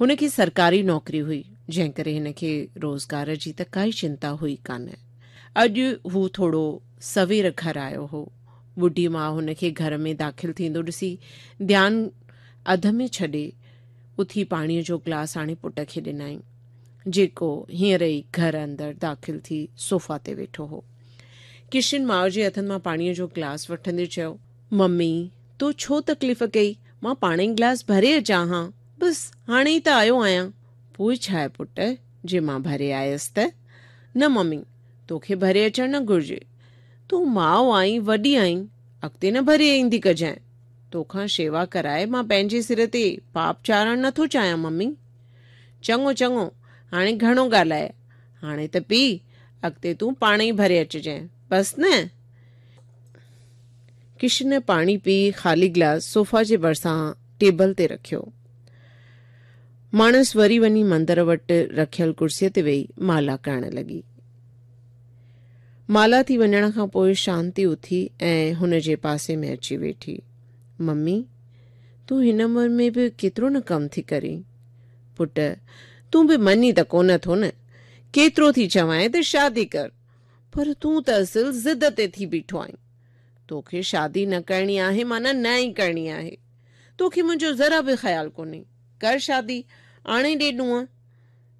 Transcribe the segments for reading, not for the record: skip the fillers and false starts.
هن کي سرڪاري نوڪري هئي، جنهن ڪري هن کي روزگار جي ته ڪائي چنتا هئي ڪانه. اڄ هو ٿورو سوير گهر آيو هو. ٻڍي ماء هن کي گهر ۾ داخل ٿيندو ڏسي ڌيان اڌ ۾ ڇڏي اٿي پاڻيء جو گلاس آڻي پٽ کي ڏنائين، جيڪو هينئر ئي گهر اندر داخل ٿي صوفا تي ويٺو هو. ڪشن ماء جي هٿن مان پاڻيء جو گلاس وٺندي چيو. ممي، تو ڇو تڪليف ڪئي، مان پاڻ ئي گلاس ڀري اچان ها، بس هاڻي ئي ته آيو آهيان. پوء ڇا آهي پٽ، جي مان ڀري آيس ته؟ نه ممي، توکي ڀري اچڻ نه گهرجي. تون ماء آهين، وڏي آهين، اڳتي نه ڀري ايندي ڪجانء. توکان شيوا ڪرائي مان پنهنجي سر تي پاپ چاڙهڻ نه ٿو چاهيان ممي. چڱو چڱو، هاڻي گهڻو ڳالهايئه، هاڻي ته پي، اڳتي تون پاڻ ئي ڀري اچجانء، بس نه؟ ڪشن پاڻي پي خالي گلاس صوفا جي ڀرسان ٽيبل تي رکيو. ماڻس وري وڃي مندر وٽ رکيل ڪرسيء تي ويهي مالا ڪرڻ لڳي. مالا ٿي وڃڻ کان پوء شانتي اٿي ۽ هن جي پاسي ۾ اچي ويٺي. ممي، تون هن عمر ۾ به ڪيترو نه ڪم ٿي ڪرين. پٽ، تون به مڃين ته ڪونه ٿو نه. ڪيترو ٿي چوانء ته شادي ڪر، پر تون ته اصل ضد تي ٿي بيٺو آهين. توکي شادي نه ڪرڻي آهي معنيٰ نه ئي ڪرڻي آهي. توکي منهنجو ذرا به خيال ڪونهي. ڪر شادي، آڻي ڏي ڏونء.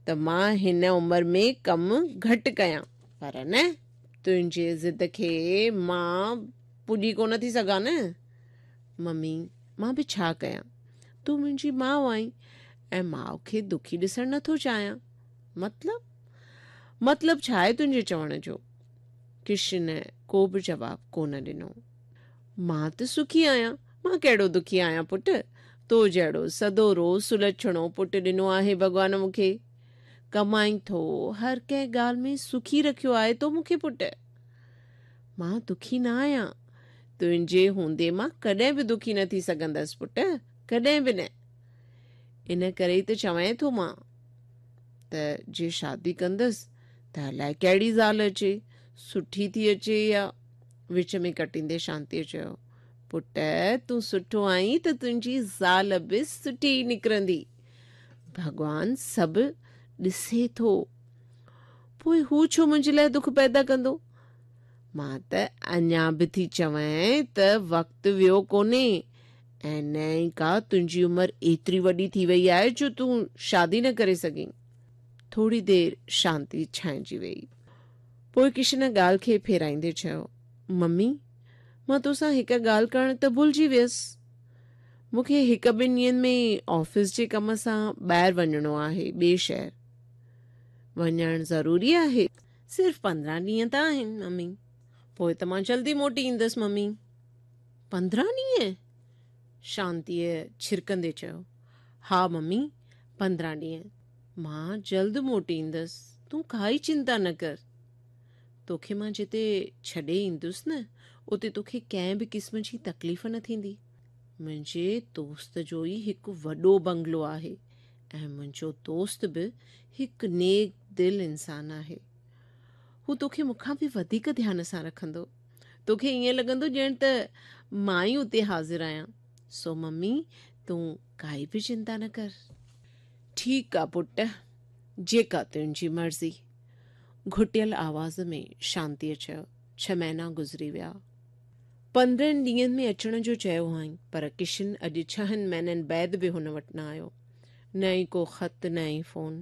ته مان هن عمر ۾ ڪم گهٽ ڪيان، پر نه، تنهنجي ضد کي مان پڄي ڪونه ٿي سگهان نه. ممي، مان به ڇا ڪيان؟ تون منهنجي ماء آهين ۽ ماء کي دکي ڏسڻ نه ٿو چاهيان. مطلب؟ مطلب ڇا آهي تنهنجي چوڻ جو؟ ڪشن ڪو به جواب ڪونه ڏنو. مان ته سکي آهيان، مان ڪهڙو دکي آهيان پٽ، تو جهڙو سدورو سلڇڻو پٽ ڏنو آهي ڀڳوان مون کي. ڪمائين ٿو، هر ڪنهن ڳالهه ۾ سکي رکيو آهي تو مون کي پٽ. مان دکي نه آهيان، تنهنجي هوندي مان ڪڏهن به دکي نه ٿي سگهندس پٽ، ڪڏهن به نه. ان ڪري ئي ته چوانء ٿو مان ته جي شادي ڪندس ته الائي ڪهڙي زال اچي، سٺي ٿي اچي يا. وچ ۾ ڪٽيندي شانتيء چيو، پٽ تون سٺو آهين ته تنهنجي زال به سٺي ئي نڪرندي. ڀڳوان سڀ ڏسي ٿو. پوء هو ڇو منهنجي لاء دک پيدا ڪندو؟ مان ته اڃا به ٿي چوانء ته وقت ويو ڪونهي ۽ نه ئي ڪا تنهنجي عمر ايتري وڏي ٿي وئي آهي جو تون شادي نه ڪري سگهين. ٿوري دير شانتي ڇانئجي ويئي. پوء ڪشن ڳالهه کي ڦيرائيندي چيو، ممي، مان توسان هڪ ڳالهه ڪرڻ ته ڀلجي ويس. مون کي هڪ ٻن ڏينهن ۾ آفيس جي ڪم سان ٻاهر وڃڻو آهي، ٻئي شهر. وڃڻ ضروري آهي؟ صرف 15 ڏينهن ته آهن، ممي. پوء ته مان جلدي موٽي ايندس، ممي. 15 ڏينهن؟ شانتيء ڇرڪندي چيو. ها ممي، 15 ڏينهن. مان جلد موٽي ايندس، تون ڪائي چنتا نه ڪر. توکي مان جتي ڇڏي ايندس نه، اتي توکي ڪنهن به قسم جي تڪليف نه ٿيندي. منهنجي دوست جو ئي هڪ وڏو بنگلو آهي ۽ منهنجو دوست به هڪ نيڪ دل انسان آهي. هو توکي مون کان به وڌيڪ ڌيان سان رکندو. توکي ائين لڳندو ڄڻ ته مان ئي اتي حاضر آهيان. سو ممي تون ڪائي به چنتا نه ڪر. ٺيڪ آ پٽ، جيڪا تنهنجي مرضي. گهٽيل آواز ۾ شانتيء چيو. ڇهه مهينا گذري ويا. 15 ڏينهن ۾ اچڻ جو چيو هئائين، پر ڪشن اڄ ڇهن مهينن بعد به هن وٽ نه آيو. نه ئي ڪو خط نه ئي فون.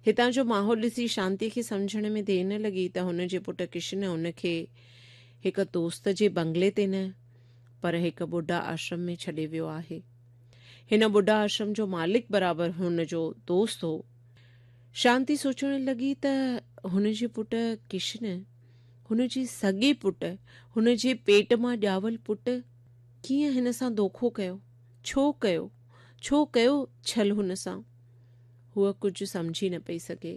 هتان جو ماحول ڏسي شانتيء کي سمجهڻ ۾ دير نه لڳي ته هن جي پٽ ڪشن هن کي هڪ دوست جي بنگلي تي نه، پر هڪ ٻڍا آشرم ۾ ڇڏي ويو آهي. هن ٻڍا آشرم جو مالڪ برابر هن جو دوست هو. شانتي سوچڻ لڳي ته هن جي پٽ ڪشن، هن جي سڳي پٽ، هن جي پيٽ مان ڄاول پٽ ڪيئن هن سان دوکو ڪيو؟ ڇو ڪيو؟ ڇو ڪيو ڇل هن سان؟ هوء ڪجهه سمجهي نه پئي سگهي.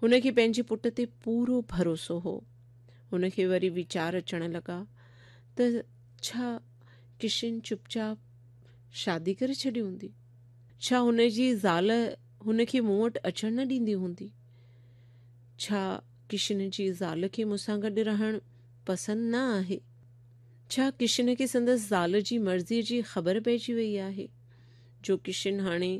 هن کي پنهنجي پٽ تي پورو ڀروسو هو. هن کي وري ويچار اچڻ لڳا ته ڇا ڪشن چپ چاپ شادي ڪري ڇڏي هوندي؟ ڇا هن جي زال هن کي مون وٽ اچڻ نه ڏيندي هوندي؟ ڇا ڪشن جي زال کي مون سان گڏ رهڻ پسند نه آهي؟ ڇا ڪشن کي سندس زال جي مرضيء جي خبر پئجي وئي آهي جو ڪشن هاڻي